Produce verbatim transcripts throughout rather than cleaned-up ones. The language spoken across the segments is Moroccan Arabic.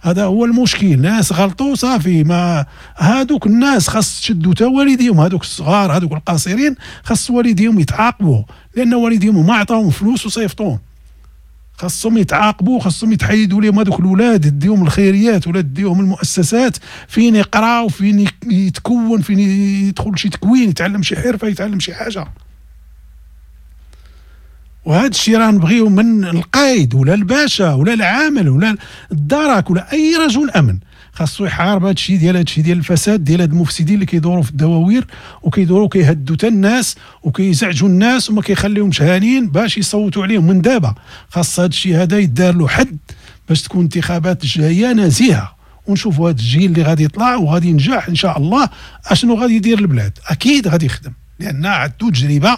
هذا هو المشكل. ناس غلطوا صافي، ما هادوك الناس خاص تشدوا تا والديهم، هادوك الصغار هادوك القاصرين خاص والديهم يتعاقبوا، لان والديهم ما عطاهم فلوس وصيفطوهم. خاصهم يتعاقبوا، خاصهم يتحيدوا لهم هذوك الاولاد، ديهم الخيريات ولا ديهم المؤسسات فين يقراو، فين يتكون، فين يدخل شي تكوين، يتعلم شي حرفه، يتعلم شي حاجة. وهذا الشيء راه نبغيو من القايد ولا الباشا ولا العامل ولا الدرك ولا اي رجل امن، خاصو يحارب هذا الشيء ديال هذا الشيء ديال الفساد ديال هاد المفسدين اللي كيدوروا في الدواوير وكيدوروا كيهدوا حتى الناس وكيزعجوا الناس وما كيخليهمش هانين باش يصوتوا عليهم. من دابا خاص هذا الشيء هذا يدار له حد باش تكون انتخابات الجاية نزيهة، ونشوفوا هذا الجيل اللي غادي يطلع وغادي ينجح ان شاء الله اشنو غادي يدير البلاد. اكيد غادي يخدم، لان عنده تجربه،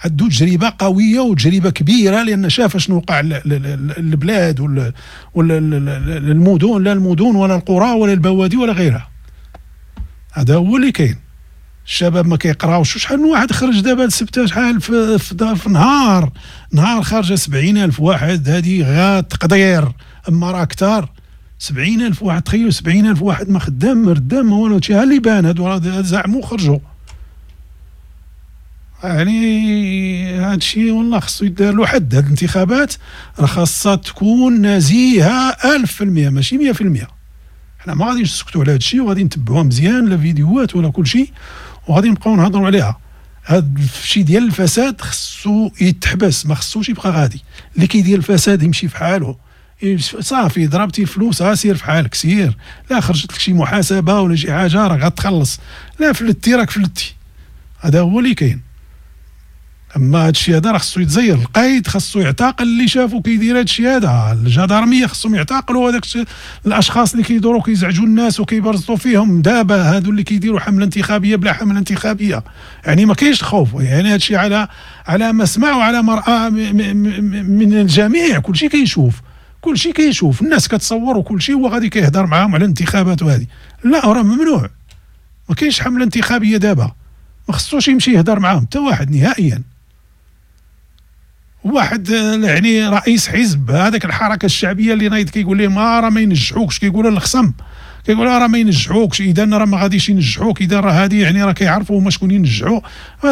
عنده تجربه قوية وتجربه كبيرة، لان شاف شنو وقع للبلاد ولا المدن، لا المدن ولا القرى ولا البوادي ولا غيرها. هذا هو اللي كاين. الشباب ما كيقراوش. شحال من واحد خرج دابا لسبته، شحال في, في, في نهار نهار خارجه سبعين ألف واحد، هذه غا تقدير، اما راه كثار. سبعين ألف واحد، تخيلوا سبعين ألف واحد ما خدام ما ردام ما والو. ها اللي بان هادو زعموا خرجوا. يعني هذا الشيء والله خصو يدار له حد. هاد الانتخابات راه خاصها تكون نزيهة ألف في المية ماشي مية في المية. حنا ما غاديش نسكتوا على هذا الشيء، وغادي نتبعوها مزيان لا فيديوهات ولا كل شيء، وغادي نبقاو نهضروا عليها. هذا الشيء ديال الفساد خصو يتحبس، ما خصوش يبقى غادي. اللي كيدير الفساد يمشي في حاله، صافي ضربتي الفلوس ها سير في حالك سير، لا خرجت لك شي محاسبه ولا شي حاجة راه غتخلص، لا فلتي راك فلتي. هذا هو اللي كاين. اما هادشي هذا راه خصو يتزير، القايد خصو يعتقل اللي شافو كيدير هادشي هذا، الجدارميه خصهم يعتقلوا هذاك الاشخاص اللي كيدوروا كيزعجوا الناس وكيبرزطوا فيهم. دابا هادو اللي كيديروا حمله انتخابية بلا حمله انتخابية، يعني ما كاينش خوف. يعني هادشي على على ما سمع وعلى مرأى من الجميع، كلشي كيشوف، كلشي كيشوف، الناس كتصور وكلشي هو غادي كيهضر معاهم على الانتخابات وهذه. لا راه ممنوع، ما كاينش حمله انتخابية دابا، ما خصوش يمشي يهضر معاهم حتى واحد نهائيا. واحد يعني رئيس حزب هذاك الحركة الشعبية اللي نايض كيقول لهم راه ما ينجحوكش، كيقولوا للخصم كيقولوا راه ما ينجحوكش، اذا راه ما غاديش ينجحوك، اذا راه هذه يعني راه كيعرفوا هما شكون ينجحوا.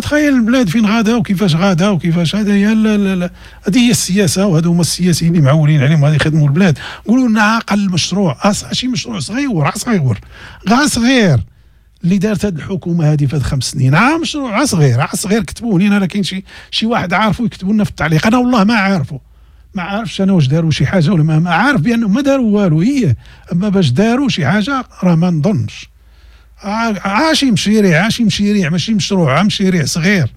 تخيل البلاد فين غادا وكيفاش غادا وكيفاش. هذا هي هذه هي السياسة، وهذو هما السياسيين اللي معولين عليهم غادي يخدموا البلاد. قولوا لنا اقل مشروع، شي مشروع صغير صغير غا صغير اللي دارت هذه الحكومة هذه في هاد خمس سنين، عا مشروع صغير عا صغير كتبوه لينا. راه كاين شي شي واحد عارفو يكتبوا لنا في التعليق. انا والله ما عارفه، ما عارفش انا واش داروا شي حاجة ولا ما عارف بانه ما داروا والو هي، اما باش داروا شي حاجة راه ما نظنش. عاشي مشيريع، عاشي مشيريع، ماشي مشروع، مشيريع صغير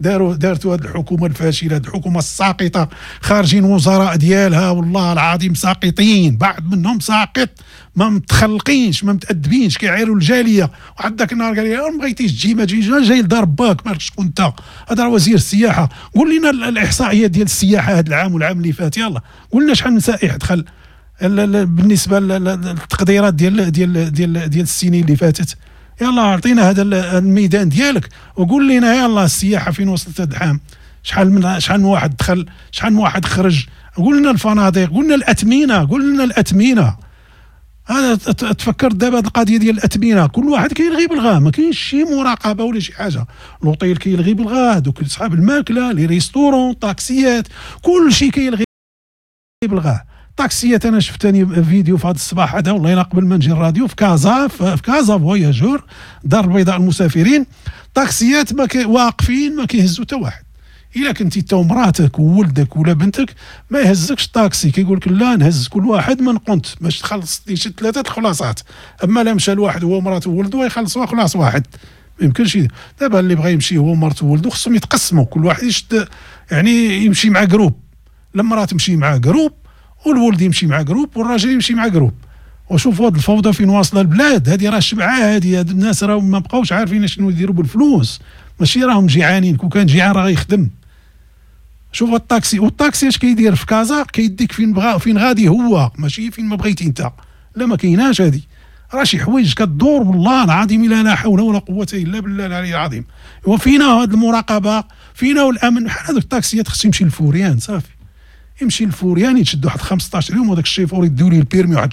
داروا دارتوا هذه الحكومة الفاشلة، هذه الحكومة الساقطه، خارجين وزراء ديالها والله العظيم ساقطين، بعض منهم ساقط، ما متخلقينش ما متادبينش، كيعايروا الجالية. واحد ذاك النهار قال لي ما بغيتيش تجي ما تجيش، جاي لدار باك مالك شكون انت؟ هذا راه وزير السياحة. قول لنا الاحصائيات ديال السياحة هذا العام والعام اللي فات، يلا قول لنا شحال من سائح دخل بالنسبة للتقديرات ديال ديال ديال ديال السنين اللي فاتت. يلا اعطينا هذا الميدان ديالك وقول لنا يلا السياحة فين وصلت هذا العام، شحال من شحال من واحد دخل، شحال من واحد خرج، قول لنا الفنادق، قول لنا الاثمنه، قول لنا الاثمنه. هذا تفكرت دابا هذه القضية ديال الاثمنه، كل واحد كيلغي بالغا، ما كاينش شي مراقبة ولا شي حاجة. لوطيل كيلغي بالغا، دوك صحاب الماكلة، les restaurants، طاكسيات، كل شيء كيلغي بالغا. طاكسيات انا شفت ثاني فيديو في هذا الصباح هذا والله الا قبل ما نجي الراديو في كازا، في كازا voyageurs دار البيضاء المسافرين، طاكسيات ما كي واقفين ما كيهزوا حتى واحد. الا كنتي انت ومراتك وولدك ولا بنتك ما يهزكش الطاكسي، كيقول لك لا نهز كل واحد من قنت باش تخلص شي ثلاثة الخلاصات. اما لا مشى الواحد هو ومراته وولده يخلصوا خلاص واحد، ما يمكنش. دابا اللي بغى يمشي هو ومرته وولده خصهم يتقسموا، كل واحد يشد يعني يمشي مع groupe، المراة تمشي مع groupe والولد يمشي مع groupe والراجل يمشي مع groupe. وشوفوا هاد الفوضى فين واصله البلاد هذه، راه شبعه هذه، هاد الناس راه ما بقاوش عارفين شنو يديروا بالفلوس، ماشي راهم جيعانين، كون كان جيعان راه غيخدم. شوف الطاكسي، والطاكسي اش كيدير في كازا؟ كيديك فين بغا فين غادي هو، ماشي فين ما بغيتي انت. لا ما كايناش هذه، راه شي حوايج كدور والله العظيم الا لا حول ولا قوة الا بالله العلي العظيم. وفينا هاد المراقبة، فينا الامن. بحال هذوك الطاكسيات خص يمشي للفوريان صافي، يمشي للفوريان يتشد واحد خمسطاش يوم، وهذاك الشيفور يديو ليه ال permis واحد